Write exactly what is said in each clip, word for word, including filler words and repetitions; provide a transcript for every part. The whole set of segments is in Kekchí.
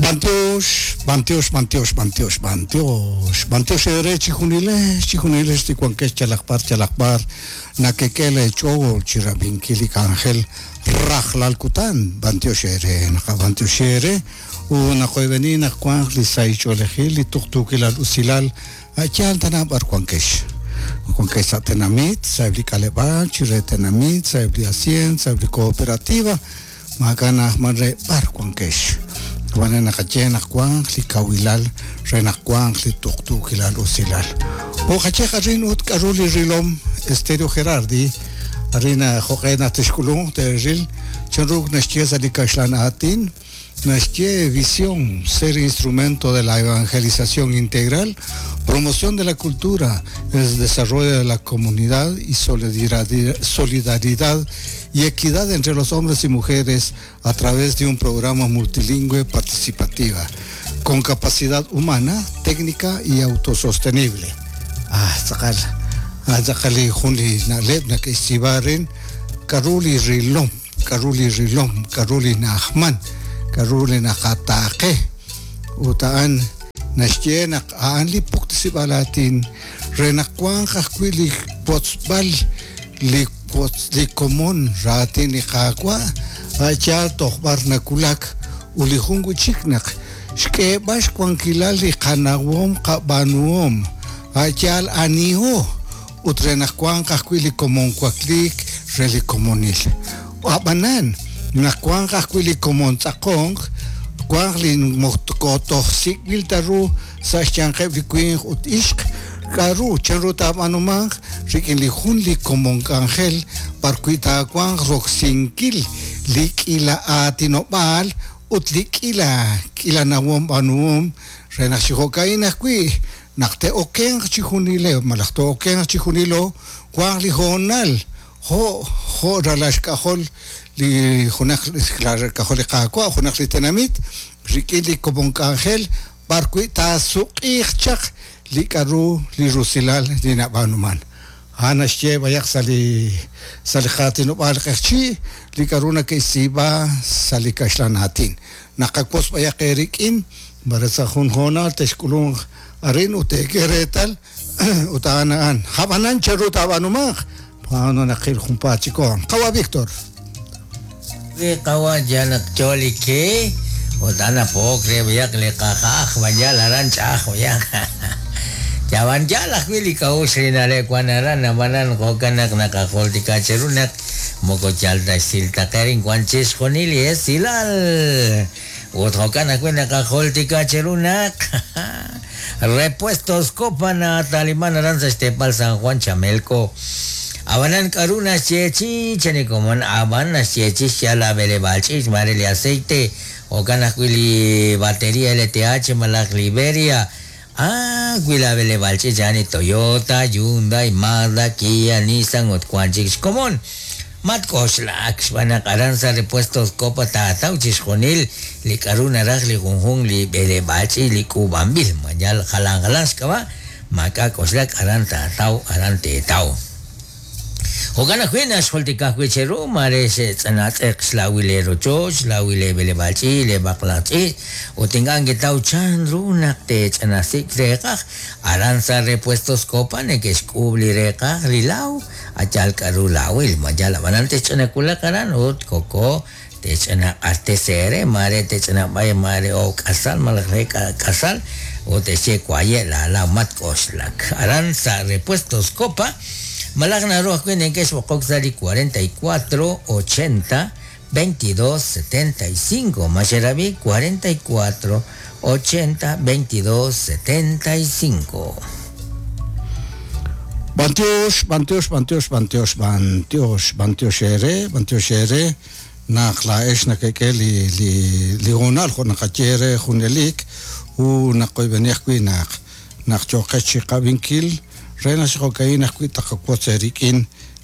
Bantiox, bantiox, bantiox, bantiox, bantiox, bantiox ere chijunilex, chijunilex ticuanquex chalakpar, chalakpar, nakekele chogol, chirabinkili ángel, rajlalkutan, bantiox ere, naka bantiox ere, una koibenina kuan lisaicholegil, tuktukilal usilal, ayan tanabar kuanquex. Kuanquex atenamit, saibli kalebal, chiretenamit, saibli hacien, saibli cooperativa, magana manre bar kuanquex. Wanena kachena kuan li kawilal rena kuan li tuktukilal usilal. O kacheja rin ut karuli rilom Estéreo Gerardi arina joqena tishkulun teril chanruk nashchiesa li kashlan atin nashchie visión ser instrumento de la evangelización integral, promoción de la cultura, el desarrollo de la comunidad y solidaridad, solidaridad y equidad entre los hombres y mujeres a través de un programa multilingüe participativa, con capacidad humana, técnica y autosostenible. Ah, tzakal, ah, tzakali junli naleb na k'ixibaren, karuli rilom, karuli rilom, karuli nahman, karuli nakataqe, utaan naxyenak aan li puktisibalatin, renakuan jajkuili potzbal, li li komon ratin li qaqwa acha toqbar nakulak uli jungu chiknak xk'eeb'ax kuankilal li qanawom qab'anuom achal aniho ut renakuan jajkuili li komon kuaklik re li komonil ab'anan nakuan jajkuili komon tz'aqonq kuan li mojtokotoj sik'il taru sa xyanqeb' li winq ut ixq karu chanru tab'anumanq rik'in li jun li komon k'anjel parkui taakuan roksinkil li k'ila aatinob'aal ut li k'ila k'ila nawom b'anuhom re naq xijo'ka'in ajwi' naq te'okenq chijunile malaj te'okenq chijunilo kuan li hoonal jo' jo' ralaxk'ajol li junaq k'ajol li qaawa' junaq li tenamit rik'in li komon k'anjel parkui taasuq'iij chaq li k'aru li rusilal li nab'anuman ana xye bayaq sa li sa li qaatinob'aal q'eqchi li k'aru nak'ixsiib'a sa li kaxlan aatin naqakos bayaq erik'in mare sa jun hoonal texk'ulunq arin ut teek'e reetal ut a'an a'an jab'anan chanru taab'anumanq paano naqil junpaat chikon qawa Víctor li qawa yanak cholike ut ana pook re bayaq li qajaj bayal aran ch'aj bayaq Yawan yalaj wili kaus rinale kuanaran amanan kokanak nakajoltika cherunak moko chalta silta kerin kuanchis konili es silal ut jokanak nakajoltika cherunak repuestos Copa na Talimán Aranza Estepal San Juan Chamelco Abanan karuna chechi chenikomon aban chechi chala bele balchis marele aceite okanak wili batería L T H malak Liberia. Ah, cuila bele balche yani Toyota, Hyundai, Mazda, Kia, Nissan, Otcuanchix, común. Matkoxlak, xb'anak aranza repuestos Copa tataw chixjunil, li k'aru naraj li junjun li bele balche li k'ub'anb'il, mayal jalan jalan xk'ab'a, maka k'oxlak aran tataw aran tetaw. Jo'kan ajwi' naxjultikaj wi' cheru mare xe'tz'anatz'eq xlawil le rochoch, xlawil le beleb'alch'i, le b'aqlaqch'i, ut ink'a' nkitaw chanru naq te'ch'anasik reeqaj, aran sa repuestos Copa neke'xk'uub' li reeqaj li law, achal k'aru lawil, mayal ab'anan te'ch'anakulaq aran ut koko te'ch'anaq'artesere, mare te'ch'anab'ay mare o k'asal malaj re k'asal, ut te'xye kwaye' la law mat k'oxlak. Aran sa repuestos Copa Malak naru ajwi' neke'xb'oqok sa li cuarenta y cuatro ochenta veintidós setenta y cinco Maxerabi cuarenta y cuatro ochenta veintidós setenta y cinco. Bantiox, bantiox, bantiox, bantiox, bantiox, bantiox ere, bantiox ere, naq la'ex nakek'e li li li hoonal jo' naqaye re junelik u naqoyb'eni ajwi' naq naq choqex chiqab'inkil re naxjo'ka'in ajwi' taqakwotz erik'in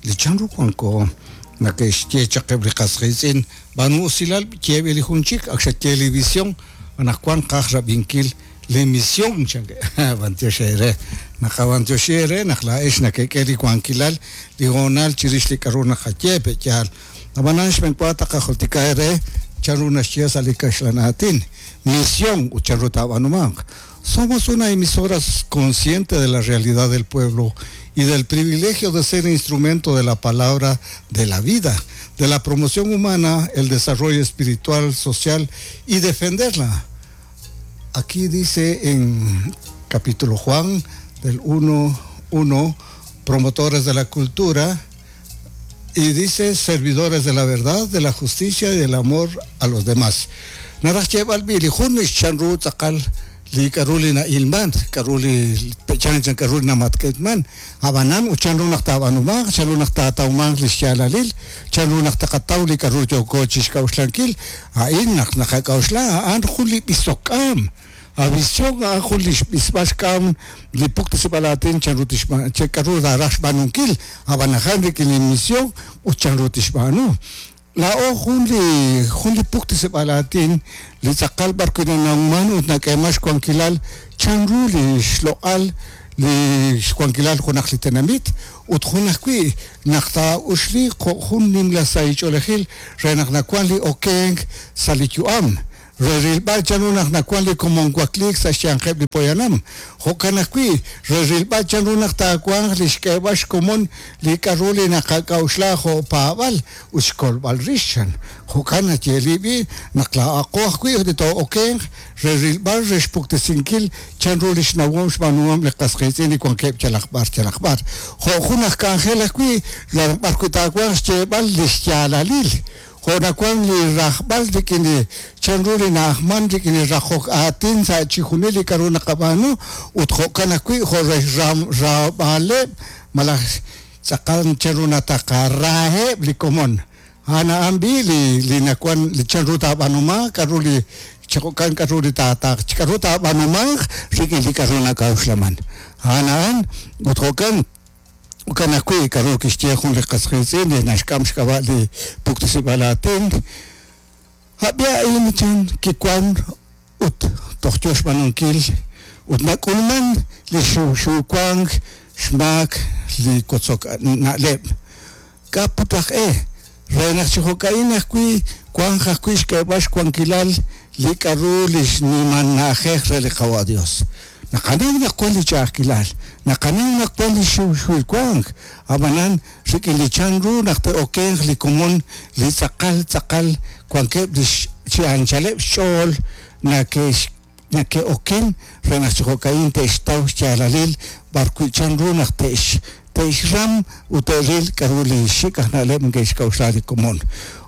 li chanru wanko nake'xye chaqeb' li qasqiitz'in b'anu usilal yeeb'il li jun chik ak xaye li visión anaqwan qaj rab'inkil li misión chanke bantiox ere naqabantiox ere naq la'ex nakek'e li wankilal li hoonal chirix li k'aru naqaye pe'yaal ab'anan xb'enwa taqajultika ere Chanru naxye sa' li kaxlan aatin misión ut chanru taab'aanumanq. Somos una emisora consciente de la realidad del pueblo y del privilegio de ser instrumento de la palabra de la vida, de la promoción humana, el desarrollo espiritual, social y defenderla. Aquí dice en capítulo Juan del uno uno, promotores de la cultura, y dice servidores de la verdad, de la justicia y del amor a los demás. Naraj xyeeb'al b'i li jun chanru tz'aqal li k'aru li na'ilman, k'aru li chan chan k'aru li namatk'etman, ab'anan ut chanru naq taab'anumanq, chanru naq taatawmanq li xyaalalil, chanru naq taqataw li k'aru yooko chixk'a'uxlankil, a'in naq naqak'a'uxla a'an jun li b'isok'aam. A visión a'an jun li xb'isb'al xk'am li puktasib'al aatin chanru tixb'aan, che k'aru raraj xb'aanunkil, ab'an ajan rik'in li misión ut chanru tixb'aanu. Laa'o jun li jun li puktasib'al aatin li tz'aqal b'ar wi' nanawman ut nak'eeman xwankilal chanru li xloq'al li xwankilal junaq li tenamit ut jun ajwi' naq taa'uxli jo' jun nimla sahich'oolejil re naq nawan li okenk sa' li yu'am. Re rilb'al chanru naq nawan li komon wakliik sa' xyanqeb' li poyanam. Jo'kan ajwi' re rilb'al chanru naq taawanq li xk'eeb'al xkomon li k'aru li naqak'a'uxla jo' paab'al ut xkolb'al rix chan. Jo'kan nayeeli b'i naq laa'aqo ajwi' li too'okenq re rilb'al re xpuktesinkil chanru li xnawom xb'aanuhom li qas qiitz'in li wankeb' yalaq b'ar yalaq b'ar. Jo' jun aj k'anjel ajwi' b'ar wi' taawanq xyeeb'al li xyaalalil. Jo' nawan li rajb'al rik'in li chanru li na'ajman rik'in li rajok aatin sa' chijunil li k'aru naqab'aanu ut jo'kan ajwi' jo' re raab'aleb' malaj tz'aqal chanru nataqaraaheb' li komon. A'an a'an b'i li li nawan li chanru taab'aanumanq k'aru li jo'kan k'aru li taataq k'aru taab'aanumanq rik'in li k'aru nak'a'uxlaman. A'an a'an ut jo'kan jo'kan ajwi' k'aru kixye jun li qas qiitz'in li naxk'am xk'ab'a' li puktasib'al aatin. Ab'i a'in chan kiwan ut toj yo xb'aanunkil ut nak'ulman li xuwxuwank xmaak li kotzok na'leb'. K'a put aj e re naq chi jo'ka'in ajwi' wanq ajwi' xk'eeb'al xwankilal li k'aru li xnimal na'ajej re li qawa' Dios. Naqanaw naq wan li ch'a'ajkilal, naqanaw naq wan li xuwxuwank, ab'anan rik'in li chanru naq te'okenq li komon li tz'aqal tz'aqal wankeb' li chi anchaleb' xch'ool nake'x nake'oken re naq chi jo'ka'in te'xtaw xyaalalil b'ar wi' chanru naq te'x te'xram ut te'ril k'aru li xik aj na'leb' neke'xk'a'uxla li komon.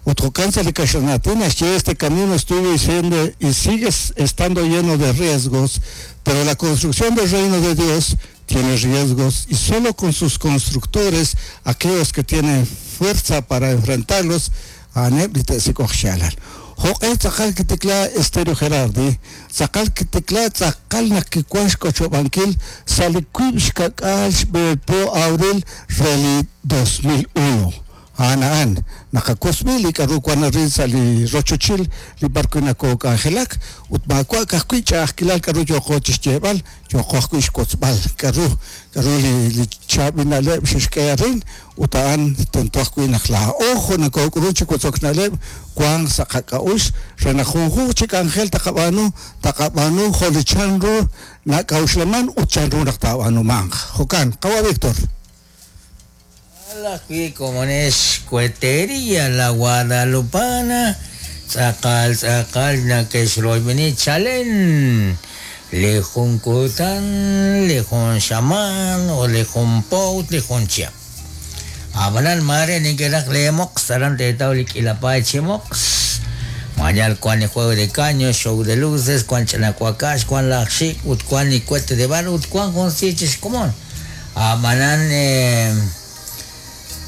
Ut jo'kan sa' li kaxlan aatin naxye este camino estuvo y siendo y sigue estando lleno de riesgos, pero la construcción del reino de Dios tiene riesgos y solo con sus constructores, aquellos que tienen fuerza para enfrentarlos, a'aneb' li te'sik'oq xyaalal. Jo'q'e tz'aqal kitikla Estéreo Gerardi, tz'aqal kitikla tz'aqal naq kiwan xk'ochob'ankil sa' li wiib' xka'k'aal xb'eelpo abril re li dos mil uno. A'an a'an naqakosb'i li k'aru wan arin sa' li rochochil li b'ar wi' nakook'anjelak ut maawa' ka'ajwi' ch'a'ajkilal k'aru yooqo chixyeeb'al, yooqo ajwi' xkotzb'al k'aru k'aru li li chaab'il na'leb' xexk'e arin ut a'an tento ajwi' naq laa'o jo' nakook'ulun chi kotzok na'leb' wanq sa' qak'a'uxl re naq junjunq chi k'anjel taqab'aanu taqab'aanu jo' li chanru nak'a'uxlaman ut chanru naq taab'aanumanq. Jo'kan, qawa' Víctor. La como es cuetería la Guadalupana, tz'aqal tz'aqal nakexroyb'eni chalen li jun kutan, li jun xamaan o li jun po ut li jun chihab'. Ab'anan mare nikeraj lemoq saran teetaw li k'ilapay chimoq. Mañal cuan ni juego de caño, show de luces, cuan chanacuacax, cuan laj xik, ut cuan ni cohete de bar, ut cuan jun sichix komon. Ab'anan eh,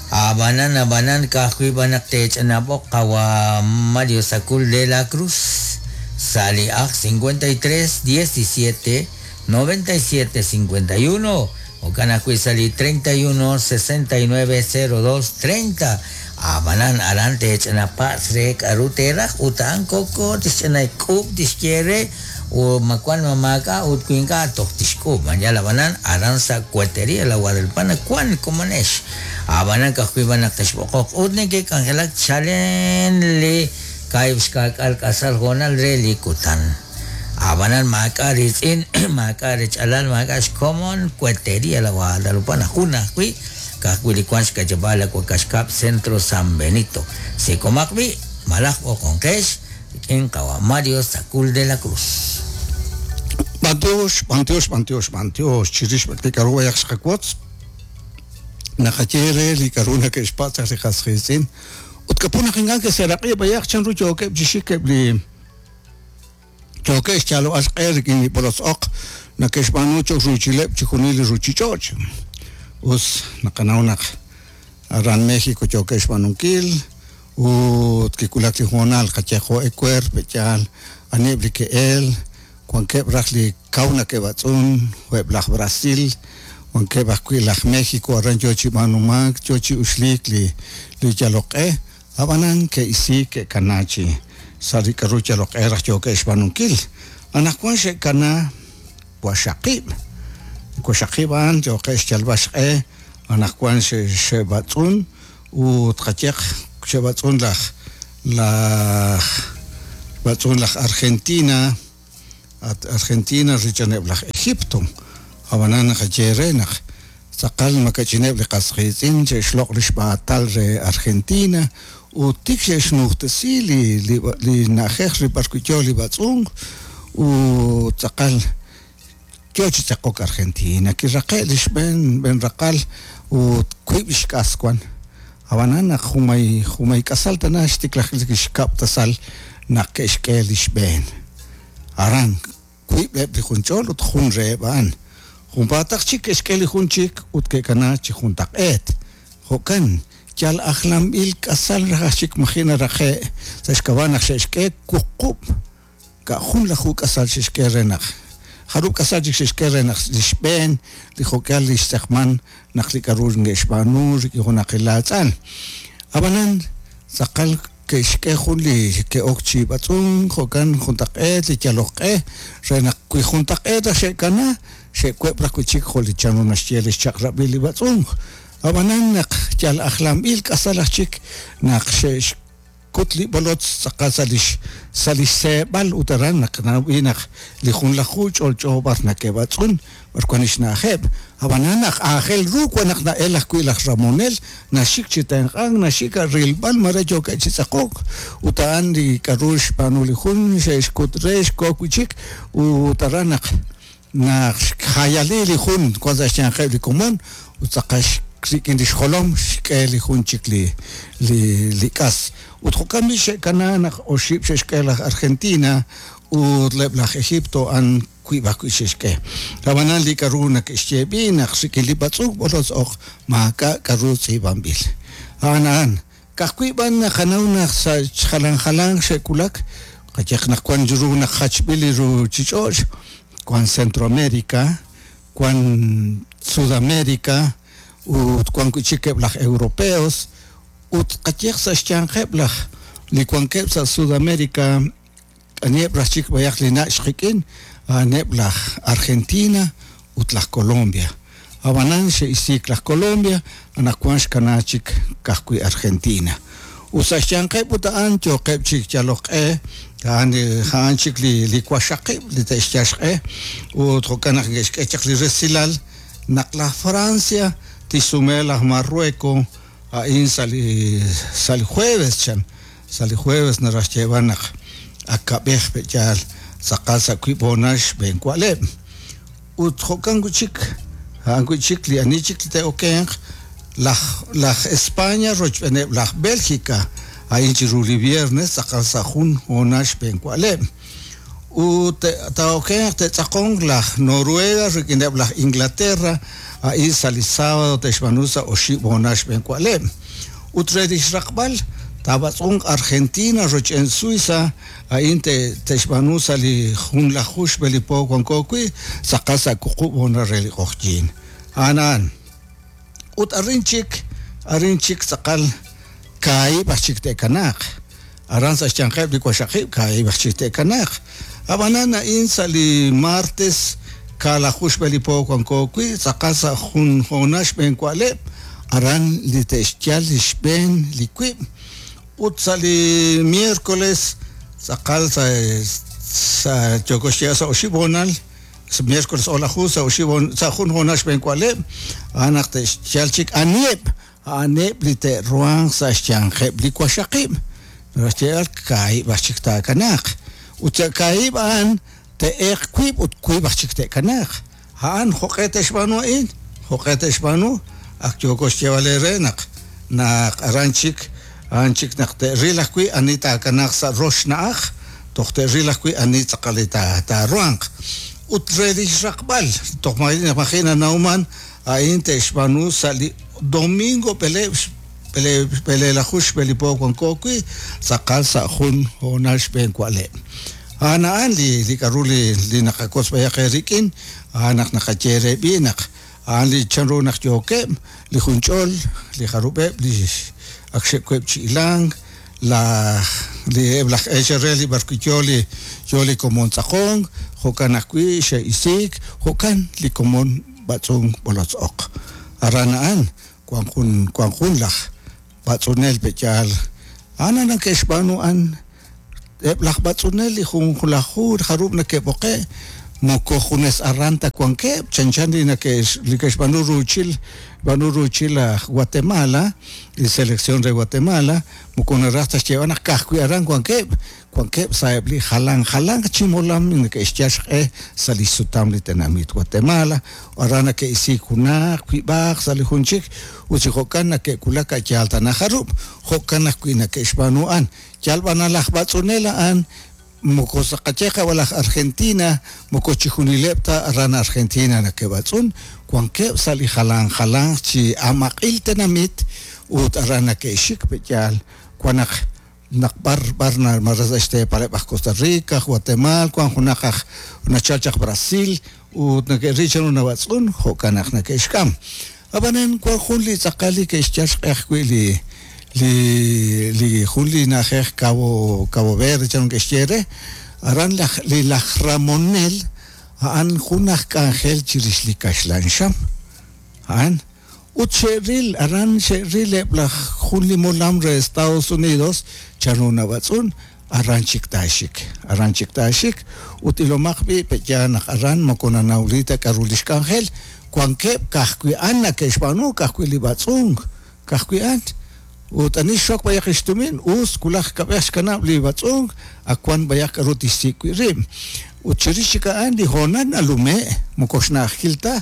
Abanan, abanan, kahui banak techanabok, kawa Mario Sacul de la Cruz, Sali aj cincuenta y tres, diecisiete, noventa y siete, cincuenta y uno, Okanakui sali treinta y uno, sesenta y nueve, cero dos, treinta. Abanan, aran techanapaz, rek, arutera, utan, coco, tischanay, kup, tisquiere, o macuan mamaca, utcuinca, tohtishku, mañana banan, aranza, cuetería, la Guadalupana, cuan, comanesh. Abanan, kahui, banak, tashbokok, utneke, cangelak, chalen, le, Kaahib' xkaak'al k'asal hoonal re li kutan. Ab'anan maak'a' riitz'in, maak'a' rech'alal, maak'a' xkomon, Cuetería La Guadalupana, jun ajwi', ka'ajwi' li wank xk'ayeb'aal la Wakaxkab' Centro San Benito. Sikomaq b'i', malaj b'oqonqex, rik'in qawa Mario Sacul de la Cruz. B'antiox, b'antiox, b'antiox, b'antiox, chirix li k'aru b'ayaq xqawotz, naqaye re li k'aru nake'xpatz' li qas qiitz'in. Ut kapun naq ink'a' ke'seeraq'i b'ayaq chanru yookeb' chi xik eb' li yookeb' xyalob'al xq'e rik'in li b'olotz oq nake'xb'aanu cho'q ruuchileb' chi junil li ruuchich'och'. Us naqanaw naq aran México yookeb' xb'aanunkil ut kiwulak li hoonal qaye jo' ewer pe'yaal aniheb' li ke'el wankeb' raj li kaw nake'b'atz'un jo'eb' laj Brasil, wankeb' ajwi' laj México aran yoo chi b'aanumank yoo chi uxliik li li yaloq'e. Ab'anan ke'isiik ke'kana chi sa' li k'aru yaloq'e raj yookeb' xb'aanunkil. Anaqwan xe'kana waxaqib'. Waxaqib' a'an yookeb' xyalb'al xq'e, anaqwan xe'b'atz'un ut qayeq xe'b'atz'un laj laj b'atz'un laj Argentina, at Argentina richaneb' laj Egipto. Ab'anan naqaye re naq tz'aqal makach'ineb' li qas qiitz'in xe'xloq' li xb'aatal re Argentina ut tik xe'xnujtesi li li li na'ajej li b'ar wi' yoo li b'atz'unk ut tz'aqal yoo chi tz'aqok Argentina. Kiraqe' li xb'een b'een raqal ut wiib' xk'as wan. Ab'anan naq jumay jumay k'asal tana xtiklajik li xkab' tasal naq ke'xk'e li xb'een. Aran wiib' eb' li junch'ol ut jun reheb' a'an. Junpaataq chik ke'xk'e li jun chik ut ke'kana chi juntaq'eet. Jo'kan yal ajlanb'il k'asal raj chik maji' naraqe' sa' xk'ab'a' naq xe'xk'e wuqub' ka' jun laju k'asal xe'xk'e re naq jarub' k'asal chik xe'xk'e re naq li xb'een li jo'k'al li xtz'eqman naq li k'aru nge'xb'aanu rik'in junaq laatz'an. Ab'anan tz'aqal ke'xk'e jun li ke'ok chi b'atz'unk jo'kan juntaq'eet li yaloq'e re naq wi juntaq'eet raj xe'kana xe'web' raj wi' chik jo' li chanru naxye li xchaq'rab'il li b'atz'unk. Ab'anan naq yal ajlanb'il k'asal aj chik naq xe'xkut li b'olotz tz'aqal sa' li sa' li xseeb'al ut aran naq nawb'i naq li junlaju ch'olch'o b'ar nake'b'atz'un b'ar wan li xna'ajeb'. Ab'anan naq aajel ru wan naq na'el ajwi' laj Ramonel naxik chi tenq'ank naxik a rilb'al mare yookeb' chi tz'aqok ut a'an li k'aru xb'aanu li jun xe'xkut re xkook wi' chik ut aran naq naq xjayali li jun wan sa' xyanqeb' li komon ut tz'aqal rik'in li xjolom xk'e li jun chik li li li k'as. Ut jo'kan b'i xe'kana naq oxib' xe'xk'e laj Argentina ut leb' laj Egipto an wiib' ajwi' xe'xk'e. Ab'anan li k'aru nake'xye b'i naq rik'in li b'atz'unk b'olotz oq maak'a' k'aru tz'iib'anb'il. A'an a'an ka'ajwi' b'an naqanaw naq sa' jalan jalan xe'wulak qayeq naq wan ru naq jachb'il li ruuchich'och' wan Centroamérica, wan Sudamérica ut wan wi' chik eb' laj europeos ut qayeq sa' xyanqeb' laj li wankeb' sa' Sudamérica aniheb' raj chik b'ayaq li nach' qik'in a'aneb' laj Argentina ut laj Colombia. Ab'anan xe'isiik laj Colombia anaqwan xkana chik ka'ajwi' Argentina. Ut sa' xyanqeb' ut a'an yooqeb' chik yaloq'e a'an a'an chik li li waxaqib' li te'xyal xq'e ut jo'kan naq ke'xk'e chaq li resilal naq laj Francia tixsume laj Marruecos a'in sa' li sa' li jueves chan sa' li jueves naraj xyeeb'al naq akab'ej pe'yaal tz'aqal sa' wiib' hoonal xb'een wa'leb'. Ut jo'kan wi' chik a'an wi' chik li ani chik li te'okenq laj laj España rochb'eeneb' laj Bélgica a'in chiru li viernes tz'aqal sa' jun hoonal xb'een wa'leb'. Ut taokenq te'tz'aqonq laj Noruega rik'ineb' laj Inglaterra a'in sa' li sábado te'xb'aanu sa' oxib' hoonal xb'een wa'leb'. Ut re li xraqb'al taab'atz'unk Argentina roch'en Suiza a'in te'xb'aanu sa' li junlaju xb'e li po wanko wi' tz'aqal sa' wuqub' hoonal re li q'oqyiin. A'an a'an. Ut arin chik arin chik tz'aqal kaahib' aj chik te'kanaaq. Aran sa' xyanqeb' li waxaqib' kaahib' aj chik te'kanaaq. Ab'anan a'in sa' li martes kaalaju xb'e li po wanko wi' tz'aqal sa' jun hoonal xb'een wa'leb' aran li te'xyal li xb'een li wiib' Ut sa' li miércoles tz'aqal sa' sa' yooko xyeeb'al sa' oxib' hoonal miércoles o'laju sa' oxib' sa' jun hoonal xb'een wa'leb' a'an naq te'xyal chik aniheb' a'aneb' li te'ruhanq sa' xyanqeb' li waxaqib' naxyeeb'al kaahib' aj chik taakanaaq ut sa' kaahib' a'an te'eeq wiib' ut wiib' aj chik te'kanaaq a'an jo'q'e te'xb'aanu a'in jo'q'e te'xb'aanu ak yooko xyeeb'al eere naq naq aran chik a'an chik naq te'ril ajwi' ani taakanaaq sa' rox na'aj toj te'ril ajwi' ani tz'aqal li taaruhanq ut re li xraqb'al toj maji' nanawman a'in te'xb'aanu sa' li domingo b'eleeb' b'eleelaju xb'een li po wanko wi' tz'aqal sa' jun hoonal xb'een wa'leb' a'an a'an li li k'aru li li naqakotz b'ayaq eerik'in a'an naq naqaye re b'i naq a'an li chanru naq yookeb' li junch'ol li jarub'eb' li ak xe'kueb' chi ilank laj li eb' laj eechal re li b'arwi' yo li yo li komon tz'aqonk jo'kan ajwi' xe'isiik jo'kan li komon b'atz'unk b'olotz-oq aran a'an wan jun wan jun laj b'atz'unel pe'yaal a'an nake'xb'aanu a'an eb' laj b'atz'unel li junlaju jarub' nake'b'oqe' moko junes aran ta wankeb' chanchan li nake'x li ke'xb'aanu ruuchil b'aanu ruuchil aj Guatemala li selección re Guatemala moko naraj ta xyeeb'al naq ka'ajwi' aran wankeb' wankeb' sa'eb' li jalan jalan chi molam neke'xyal xq'e sa' li xsutam li tenamit Guatemala aran nake'isiik junaq wiib'aq sa' li jun chik ut chi jo'kan nake'wulak a'yaal tana jarub' jo'kan ajwi' nake'xb'aanu a'an yal b'an laj b'atz'unel a'an moko saqaye qawal aj Argentina moko chijunileb' ta aran Argentina nake'b'atz'un wankeb' sa' li jalan jalan chi amaq'il tenamit ut aran nake'xik pe'yaal wan naq naq b'ar b'ar mara sa' xteepaleb' aj Costa Rica, Guatemala, wan junaq aj nachal chaq Brasil ut nake'ril chanru nab'atz'un jo'kan naq nake'xk'am ab'anan wan jun li tz'aqal li ke'xyal xq'e ajwi' li li li jun li na'ajej Cabo Cabo Verde chanru ke'xye re aran laj li laj Ramonel a'an jun aj k'anjel chirix li kaxlan xam a'an ut xe'ril aran xe'ril eb' laj jun li molam re Estados Unidos chanru nab'atz'un aran chik taaxik aran chik taaxik ut ilomaq b'i pe'yaal naq aran moko nanawli ta k'aru li xk'anjel wankeb' ka'ajwi' a'an nake'xb'aanu ka'ajwi' li b'atz'unk ka'ajwi' a'an ut ani xok b'ayaq xtumin us wulaj kab'ej xkanab' li b'atz'unk ak wan b'ayaq k'aru tixsik' wi' rib' ut chirix chik a'an li hoonal nalume' moko xna'ajil ta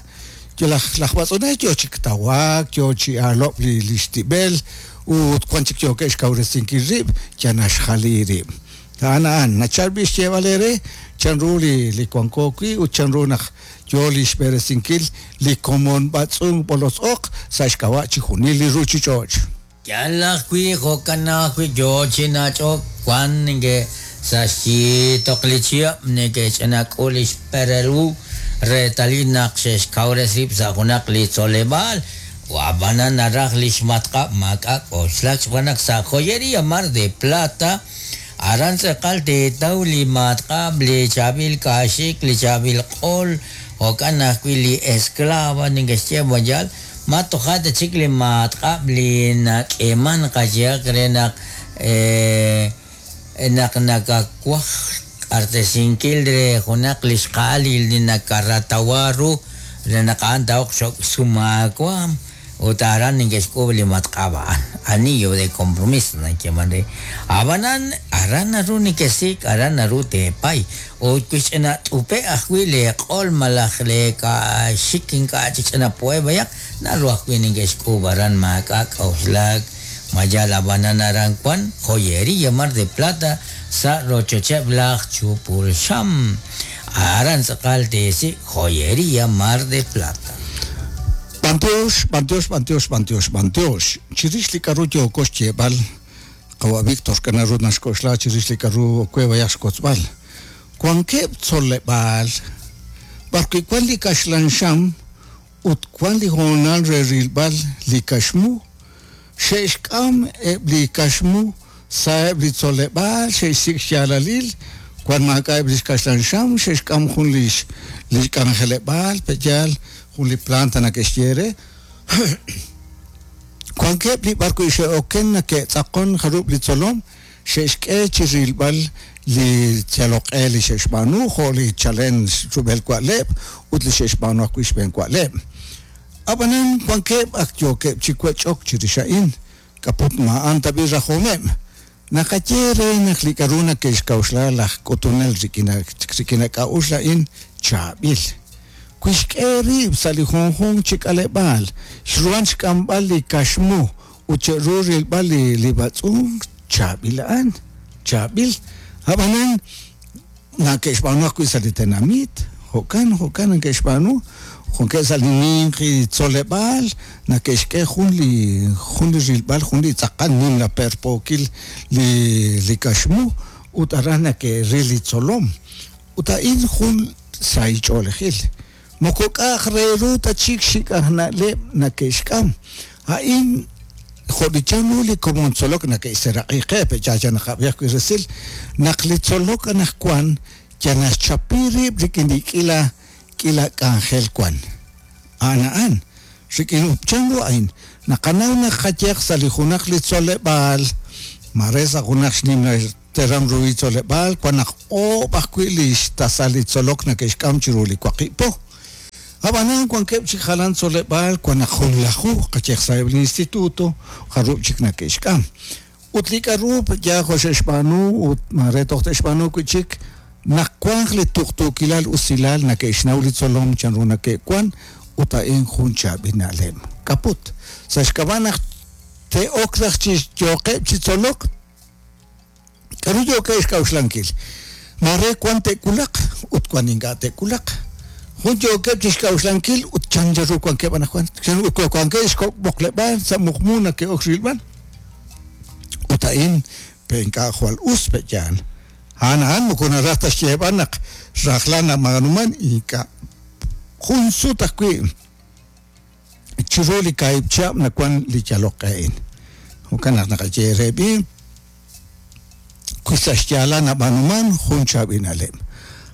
yo laj laj b'atz'unel yo chik tawaak yo chi aalob' li li xtib'el ut wan chik yookeb' xkawresinkil rib' ya naxjali rib' a'an a'an nachal b'i xyeeb'al eere chanru li li wanko wi' ut chanru naq yo li xb'eresinkil li komon b'atz'unk b'olotz-oq sa' xk'ab'a' chijunil li ruuchich'och'. Yal ajwi' jo'kan ajwi' yo chi nach'ok wan neke sa' xyiitoq li chihab' neke'ch'inak'ul li xperel reetalil naq xe'xkawres rib' sa' junaq li tzoleb'aal ab'anan naraj li xmatq'ab' maak'a' k'oxlak xb'aan naq sa' Joyería Mar de Plata aran tz'aqal teetaw li matq'ab' li chaab'il kaaxik li chaab'il q'ol jo'kan ajwi' li esclava neke'xye mayal ma toja' ta chik li matq'ab' li nak'eman qayehaq re naq naq nakawaj q'artesinkil re junaq li xqa'al li nakaratawa ru re naq a'an taoq xok sumaakuam ut aran neke'xk'uub' li matq'ab' a'an anillo de compromiso nayeeman re ab'anan aran naru nekesik aran naru teepay ut wi ch'ina t'upe ajwi' li q'ol malaj li kaaxik ink'a' chik ch'ina poe b'ayaq naru ajwi' neke'xk'uub' aran maak'a' k'oxlak mayal ab'anan aran wan Joyería Mar de Plata sa' rochocheb' laj Chupulxam aran tz'aqal teesik Joyería Mar de Plata. B'antiox, b'antiox, b'antiox, b'antiox, b'antiox. Chirix li k'aru yooko xyeeb'al qawa' Víctor kanaru naxk'oxla chirix li k'aru kwe b'ayaq xkotzb'al. Wankeb' tzoleb'aal b'arwi' wan li kaxlan xam ut wan li hoonal re rilb'al li kaxmu xe'xk'am eb' li kaxmu sa'eb' li tzoleb'aal xe'xsik' xyaalalil wan maak'a'eb' li xkaxlan xam xe'xk'am jun li li xk'anjeleb'aal pe'yaal jun li planta nake'xye re Wankeb' li b'ar wi' xe'oken nake'tz'aqon jarub' li tzolom xe'xk'e chi rilb'al li yaloq'e li xe'xb'aanu jo' li chalen rub'el wa'leb' ut li xe'xb'aanu ajwi' xb'een wa'leb'. Ab'anan wankeb' ak yookeb' chi wech'ok chirix a'in, k'aput ma'an tab'i rajomeb'. Naqaye re naq li k'aru nake'xk'a'uxla laj k'utunel rik'in rik'in k'a'uxl a'in chaab'il. Wi xk'e rib' sa' li junjunq chi k'aleb'aal, xruhan xk'amb'al li kaxmu ut che'ru rilb'al li li b'atz'unk chaab'il a'an, chaab'il. Ab'anan nake'xb'aanu ajwi' sa' li tenamit, jo'kan jo'kan nake'xb'aanu, junkeb' sa' li ninqi tzoleb'aal nake'xk'e jun li jun li rilb'al jun li tz'aqal nimla perpookil li li kaxmu ut aran nake'ril li tzolom. Ut a'in jun sahil ch'oolejil. Moko k'a'aj re ru ta chik xik' aj na'leb' nake'xk'am. A'in jo' li chanru li komon tzolok nake'xseraq'i qe pe'chacha naqab'i ajwi' resil naq li tzolok anaqwan yal naxchapi rib' rik'in li k'ila k'ila k'anjel wan. A'an a'an rik'in chanru a'in naqanaw naq qayehaq sa' li junaq li tzoleb'aal mare sa' junaq xnimla teram ruhi tzoleb'aal wan naq oob' ajwi' li xtasal li tzolok nake'xk'am chiru li waqib' po. Ab'anan wankeb' chik jalan tzoleb'aal wan naq junlaju qayehaq sa'eb' li instituto jarub' chik nake'xk'am. Ut li k'aru ya jo' xe'xb'aanu ut mare toj te'xb'aanu wi' chik naq wanq li tuqtuukilal usilal nake'xnaw li tzolom chanru nake'wan ut a'in jun chaab'il na'leb'. Kaput sa' xk'ab'a' naq te'ok raj chi yooqeb' chi tzolok k'aru yookeb' xk'a'uxlankil. Mare wan te'wulaq ut wan ink'a' te'wulaq. Jun yookeb' chi xk'a'uxlankil ut chan ru wankeb' anaqwan chan wankeb' xk'oqleb'aal sa' muqmu nake'ok rilb'al. Ut a'in pe ink'a' jwal us pe'yaal. A'an a'an moko naraj ta xyeeb'al naq rajlal nab'aanuman ink'a' jun sut ajwi' chiru li kaahib' chihab' nawan li yaloq a'in. Jo'kan naq naqaye re b'i wi sa' xyaalal nab'aanuman jun chaab'il na'leb'.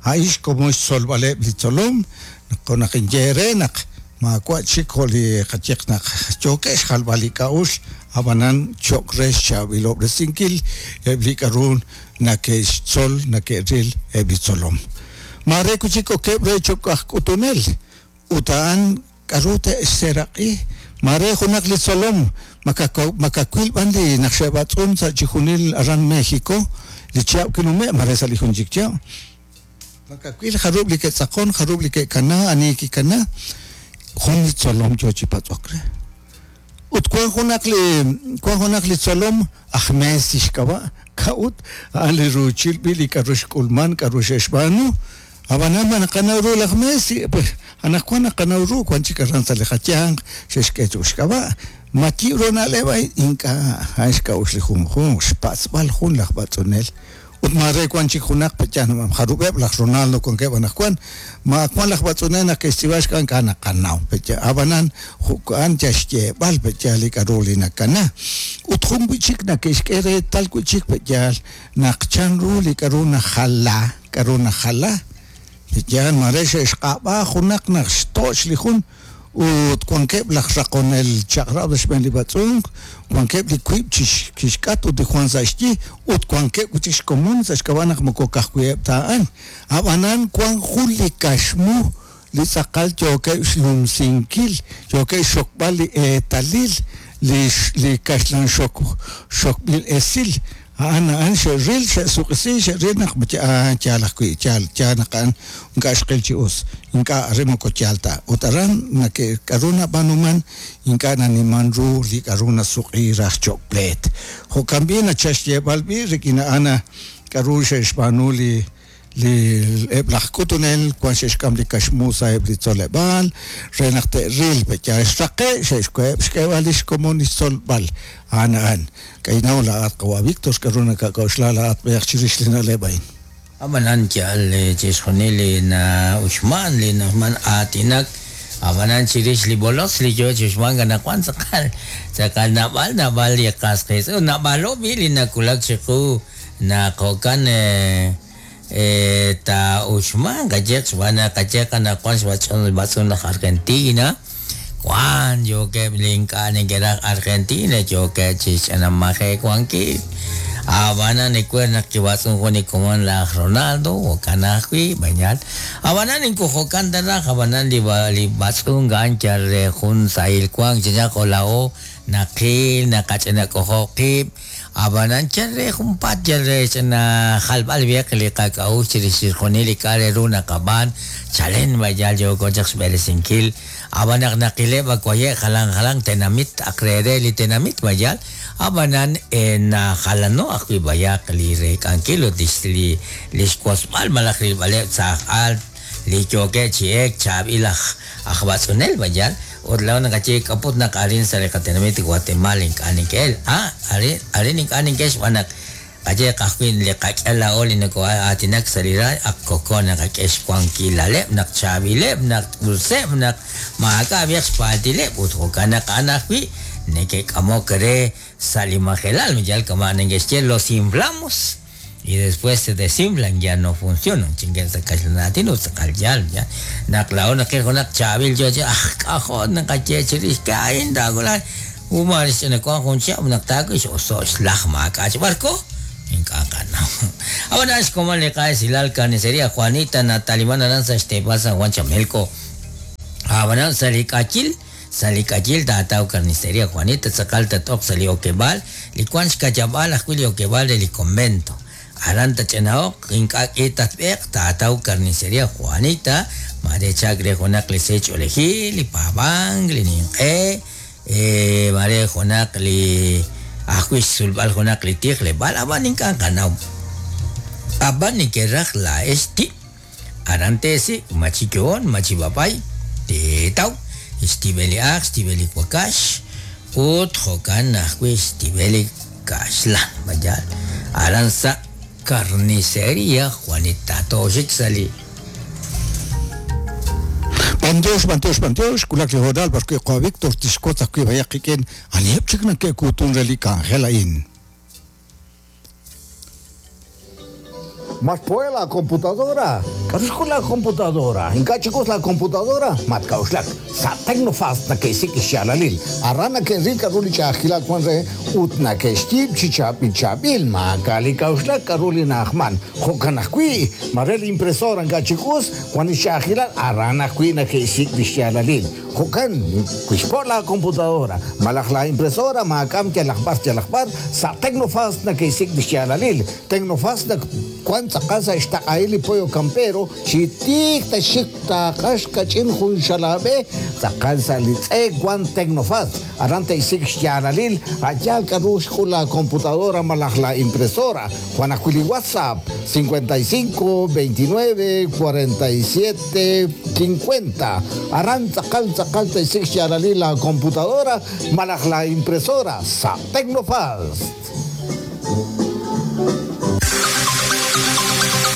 A'in xkomon xtzolb'aleb' li tzolom naq naq inye re naq maawa' chik jo' li qayehaq naq yookeb' xjalb'al li k'a'uxl ab'anan cho'q re xchaab'ilob'resinkil eb' li k'aru nake'xtzol nake'ril eb' li tzolom. Mare wi' chik okeb' re cho'q aj k'utunel ut a'an k'aru te'xseraq'i mare junaq li tzolom makawil b'an li naq xe'b'atz'un sa' chi junil aran México li chihab' kinume' mare sa' li jun chik chihab'. Makawil jarub' li ke'tz'aqon jarub' li ke'kana ani kikana jun li tzolom yo chi patz'ok re. Ut wan junaq li wan junaq li tzolom aj Messi xk'ab'a' k'a'ut a'an li ruuchil b'i li k'aru xk'ulman k'aru xe'xb'aanu. Ab'anan ma naqanaw ru laj Messi pues anaqwan naqanaw ru wan chik aran sa' li qayanq xe'xk'e cho'q xk'ab'a'. Ma yib' ru na'leb' a'in ink'a' a'an xk'a'uxl li junjunq xpatz'b'al jun laj b'atz'unel. Ut mare wan chik junaq pe'yaal jarub'eb' laj Ronaldo wankeb' anaqwan ma wan laj b'atz'unel naq ke'xtz'iib'a xk'ab'a' ink'a' naqanaw pe'yaal ab'anan jo'kan yal xyeeb'al pe'yaal li k'aru li nakana. Ut jun wi' chik nake'xk'e reetal wi' chik pe'yaal naq chanru li k'aru najala k'aru najala pe'yaal mare xe'xq'ab'a junaq naq xtoch' li jun ut wankeb' laj raqonel chaq'rab' xb'een li b'atz'unk wankeb' li wiib' chi xk'at ut li Juan sa' xyi ut wankeb' wi' chik xkomon sa' xk'ab'a' naq moko ka'ajwi'eb' ta a'an. Ab'anan wan jun li kaxmu li tz'aqal yookeb' xnumsinkil yookeb' xxokb'al li eetalil li li kaxlan xok xokb'il esil. A'an a'an xe'ril xe'suq'isi xe'ril naq yaal ajwi' yaal yaal naq a'an ink'a' xqil chi us ink'a' re moko yaal ta. Ut aran nake k'aru nab'aanuman ink'a' naniman ru li k'aru nasuq'i raj cho'q pleet. Jo'kan b'i nachal xyeeb'al b'i rik'in a'an k'aru xe'xb'aanu li li eb' laj k'utunel wan xe'xk'am li kaxmu sa'eb' li tzoleb'aal re naq te'ril pe'yaal xraqe' xe'xk'eheb' xk'eeb'al li xkomon li xtzolb'al. A'an a'an k'aynaw laa'at qawa' Víctor k'aru nakak'a'uxla laa'at b'eeq chirix li na'leb' a'in. Ab'anan yaal chixjunil li na'uxman li na'uxman aatinak ab'anan chirix li bolos li yo chi uxman anaqwan tz'aqal tz'aqal naab'al naab'al li qas qiitz'in naab'alo b'i li nawulak chiqu naq jo'kan ta uxman qayehaq xb'aan naq qayehaq anaqwan xb'atz'un b'atz'un laj Argentina Wan yookeb' li ink'a' neke'raj Argentina yookeb' chixch'anamaje wankil ab'anan ecuer naq kibatz'un jun li komon laj Ronaldo jo'kan ajwi' bañal ab'anan inkujo'kan ta raj ab'anan li li batz'un ga'an yal re jun sahil wank chachaq ola'o naqil naqach'inak'ojo' qib' ab'anan yal re junpaat yal re ch'ina jalb'al b'eq li qak'a'uxl chirix chixjunil li k'a' re ru naqab'aan chalen bayal yooko chaq xb'eresinkil ab'an naq naqileb' akuaye' jalan jalan tenamit aq re re li tenamit bayal ab'anan najalano ajwi' bayaq li rek'ankil ut li li xwosb'al malaj rilb'aleb' sa' aj'al li yookeb' chi ek chaab'il aj aj batz'unel bayal ut laa'o naqaye k'aput naq arin sa' li qatenamit Guatemala ink'a' nink'el ah arin arin ink'a' nink'el xb'aan naq qaye qajwi' li qak'el laa'o li nako'aatinak sa' li ra ak koko naqak'e xwankilaleb' naq chaab'ileb' naq useb' naq maak'a' b'eq xpaaltileb' ut jo'kan naq a'an ajwi' neke'k'amok re sa' li majelal yal kama' neke'xye los inflamos y después se desinflan ya no funcionan chingue sa kaxlan ut tz'aqal yal ya naq laa'o naqil junaq chaab'il yo chi aj k'ajo' naqaye chirix ka'in taakula umar xch'inakuan jun chihab' naq taak'ix oso' xlaj maak'a' chi barco ink'a' qanaw ab'anan xkomon li qa'esilal carnicería Juanita Natalimán aran sa' xteepal San Juan Chamelco ab'anan sa' li k'achil sa' li k'achil taataw carnicería Juanita tz'aqal tat'oq sa' li okeb'aal li wan xkachab'al ajwi' li okeb'aal re li convento aran tach'ina'oq ink'a' k'i tatb'eq taataw carnicería Juanita mare chak re junaq li sech'olejil li paab'ank li ninq'e eh, mare junaq li ajwi' xsulb'al junaq li tijleb'aal ab'an ink'a' qanaw ab'an neke'raj laa'ex ti aran teesik machiyoon machib'apay teetaw xtib'el li aaq xtib'el li wakax ut jo'kan ajwi' xtib'el li kaxlan bayal aran sa' carnicería Juanita toxik sali Bandiox, bandiox, bandiox, kulak li hodal porque kwa Víctor tixkotza kwi bayaqiken anieb chik nake'kutun re li k'anjel a'in. Mas pues la computadora. Karusco la computadora. Inka chicos la computadora. Matkauslak. Sa Tecnofast na que sik xalalil. Arana que rica ruli chajila kwan re utna que xtib chichabil chabil ma kali kauslak karuli nachman. Jokanakui. Marel impresora inka chicos Juan xajila arana kui na que sik xalalil. Jokan kuixpo la computadora. Malaj la impresora makam que lajbar lajbar sa Tecnofast na que sik xalalil. Tecnofast na kwan tzaqasa ixtaq'ayli pollo campero xitik ta xik taqax kach'in jun xalab'e tzaqal sa li tz'e wan Tecnofast aran te'isik xyalalil ayal k'aru xk'ul la computadora malaj la impresora Juan ajwi' li WhatsApp cincuenta y cinco, veintinueve, cuarenta y siete, cincuenta aran tzaqal tzaqal te'isik xyalalil la computadora malaj la impresora sa Tecnofast.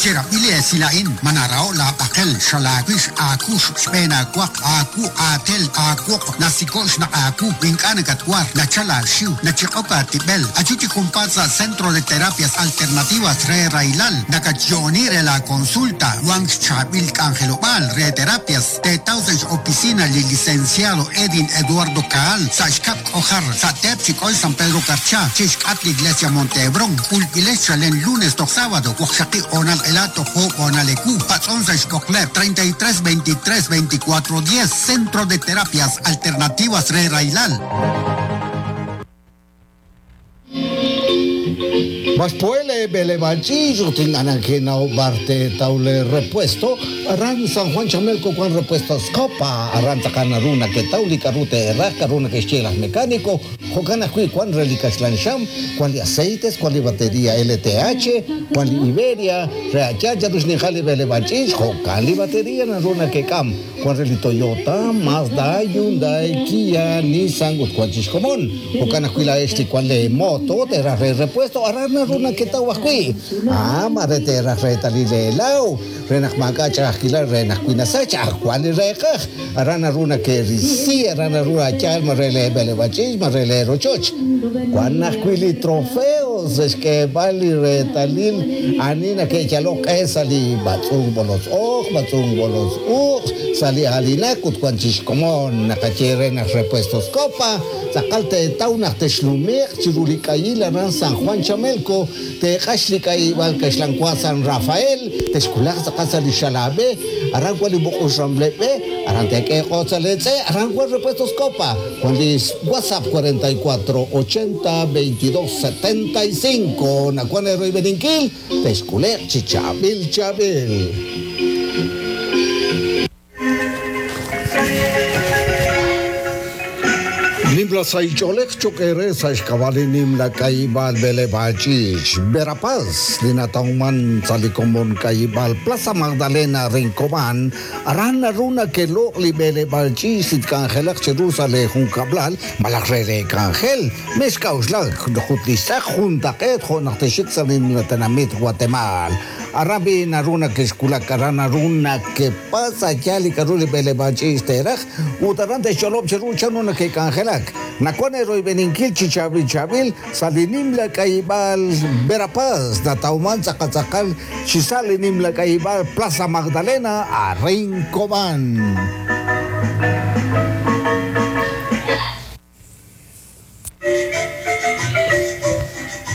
Chirapile silain manarao la pakel xalawish akush xpena kwak aku atel akwok nasikosh na aku inkana katwar na chala shiu na chikoka tibel achuchi kumpasa Centro de Terapias Alternativas re Railal nakachionire la consulta Wang Chabil Cangelobal re terapias te tauses oficina li licenciado Edin Eduardo Kaal Sashkap Ojar Satepchik hoy San Pedro Carchá Chishkatli Iglesia Montebrón Ulpiles Chalen lunes to sábado Oaxaca Onal Elato Onalecu Patzonza Xcocler treinta y tres, veintitrés, veinticuatro, diez Centro de Terapias Alternativas Re Railal. Mas puele belebanchillo tinganakena barte taule repuesto aran San Juan Chamelco con repuestos copa aran takanaruna que tauli carute rasca runa que chelas mecánico jocana kui cuan relicas lancham cuan li aceites cuan li batería L T H cuan li Iberia reachacha dus ni jali belebanchillo jocan li batería naruna que cam cuan reli Toyota Mazda Hyundai Kia Nissan cuan chiscomón jocana kui la este cuan le moto te re repuesto aran runa que tawakui ah marete reta li lau renak makacha akila renak kuinasacha cual reja arana runa que risi arana runa chal marele bele bachis marele rochoch cuan nakuili trofeo Xk'eeb'al li reetalil ani nake'yalok q'e sa' li b'atz'unk b'olotz oq, b'atz'unk b'olotz uq, sa' li aalinak ut wan chi xkomon naqaye re naq Repuestos Copa tz'aqal teetaw naq texnume'q chiru li k'ayil aran San Juan Chamelco teeq'ax li k'ayib'al kaxlanwa San Rafael texkulaq tz'aqal sa' li xalab'e aran wan li buq'ux ramleb'e aran teek'e q'oot sa' leetz'e aran wan Repuestos Copa wan li WhatsApp cuarenta y cuatro ochenta veintidós setenta y cinco nakuan eroibeninkil texkuleq chi chaab'il chaab'il. Nimla saich'olej chok'ere sa' xk'ab'al nimla k'ayib'al b'eleb'aal ch'iich' Verapaz linatawman sa' li komon k'ayib'al Plaza Magdalena Rincobán aran naru nakeloq' li b'eleb'aal ch'iich' li tk'anjelaq chiru sa' le junkab'lal malaj re re k'anjel mex k'a'uxlak jut li xtz'aq juntaq'eet jo' naq texik sa' nimla tenamit Guatemala aran bi naru nakexkulak aran naru nakepasa ya li k'aru li b'eleb'aal ch'iich' teraj ut aran texch'olob' chiru chan ru nakek'anjelak nakuan eroibeninkil chi chaab'il chaab'il sa' li nimla k'ayib'al Verapaz natawman tz'aqal chi sa' li nimla k'ayib'al Plaza Magdalena a Rincobán.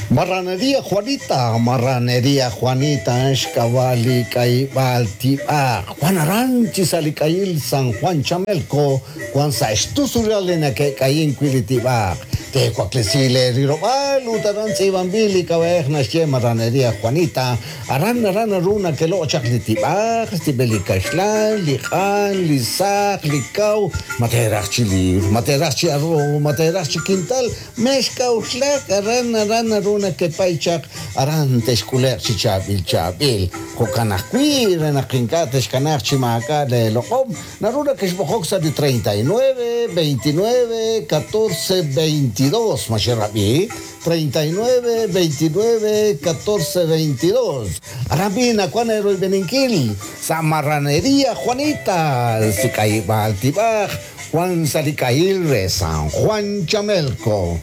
Marranería Juanita, Marranería Juanita, Xkawali, Kaibal, Tiba, Juan Aranchi, Salikayil, San Juan Chamelco, Juan Saxtusuralena, que Caín Quilitiba, Tecuaclesile, Rirobal, Utaranzi, Bambili, Cabej, Naxie, Marranería Juanita, Aran, Aran, Aruna, que lo Chaclitiba, Stibelicaxlan, Lijan, Lizac, Licau, Materachili, Materachi Arro, Materachi Quintal, Mexca, Uxlac, Aran, Aran, Aruna, que paichak aran texkuleq chi chaab'il chaab'il jo'kan ajwi' re naq ink'a' texkanaj chi maak'a' le loq'om naru nakexb'oqok sa' li treinta y nueve, veintinueve, catorce, veintidós maxerab'i treinta y nueve, veintinueve, catorce, veintidós aran bi nakuan eroibeninkil sa' Marranería Juanita sik'ayib'al tib'aj Juan Salikayil re San Juan Chamelco.